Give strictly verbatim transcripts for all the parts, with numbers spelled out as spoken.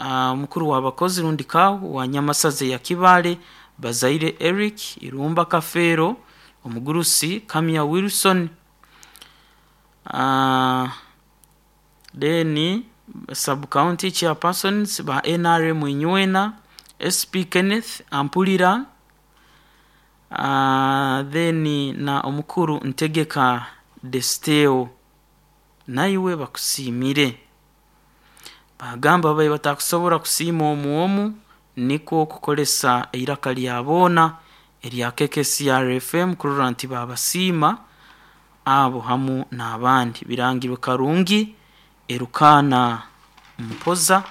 uh, mukuru w'abakozi rundi kawu wa Nyamasaza ya Kibaale, Bazaire Eric Irumba Kafeero, omugurusi Kamya Wilson, uh, then sub county chairpersons ba N R M Inywena, S P Kenneth Ampulira, uh, then na omukuru Ntegeka Desteo, naiwe bakusiimire. Bagamba babaye batakusobora kusiima omu omu, nikwo kukolesa eiraka lya boona erya K K C R F M kurora nti babasiima abo hamu n'abandi. Birangirwe Karungi Erukana Mpoza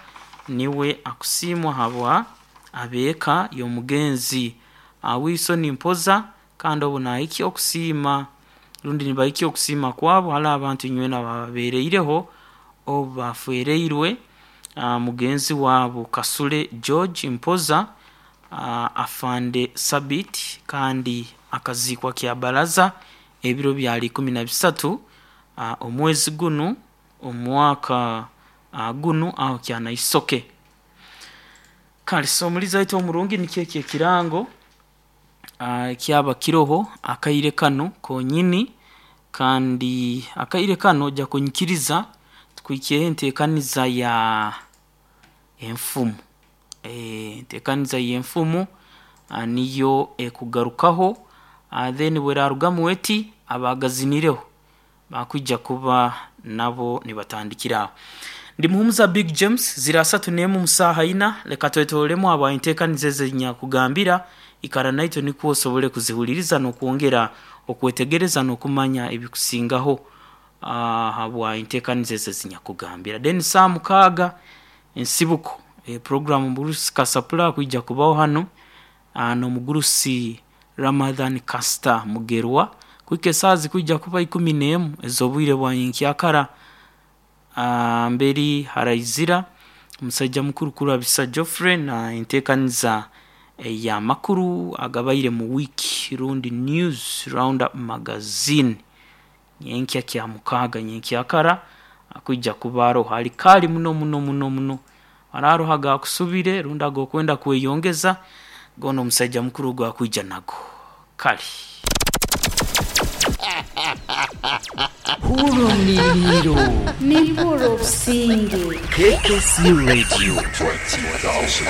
niwe akusiimwa habwa abeeka y'omugenzi Wilson Mpoza, kandi obu nahikya okusiima rundi nibahikya okusiima kwabo hali abantu inywena bababeereireho obu bafereirwe mugenzi wabo Kasule George Mpoza, afande Sabit, kandi akaziikwa kya baraza ebiro byali ikumi na bisatu omwezi gunu omwaka gunu aho kyanaisoke. Kale so omulizi aitu omurungi nikyo ekyo ekirango kyaba kiroho akaire kano konyini, kandi akaire kano ojja kunyikiriza tukwikyeho enteekaniza ya enfumu. Enteekaniza y'enfumu niyo ekugarukaho, then bwerarugamu eti abagazinireho bakwija kuba nabo nibatandikira aho. Ndi Muhumuza Big James, zira asatu n'emu musaaha ina, leka twetolemu abo enteekaniza ezinyakugambira ikara naitwe nikwo osobole kuzihuliriza n'okwongera okwetegereza n'okumanya ebikusingaho habwa enteekaniza ezo ezinyakugambira. Then saa mukaaga ensibuko e programu Mugurusi Kasapula kwija kubaho hano n'omugurusi Ramadhan Kasta Mugerwa, kuhika esaaha zikwija kuba ikumi n'emu ez'obwire bwa nyenkyakara. Mberi haraizira omusaija mukuru Kurabisa Geoffrey na enteekaniza ey'amakuru agabaire mu wiiki rundi News Roundup Magazine nyenkya kya mukaaga nyenkyakara akwija kuba aroho ali kaali muno muno muno muno araroho agakusubire rundi agokwenda kweyongeza goona omusaija mukuru ogwo akwija nago. Kale Hurumiliro Niburo Businge K K C Radio. Twenty thousand.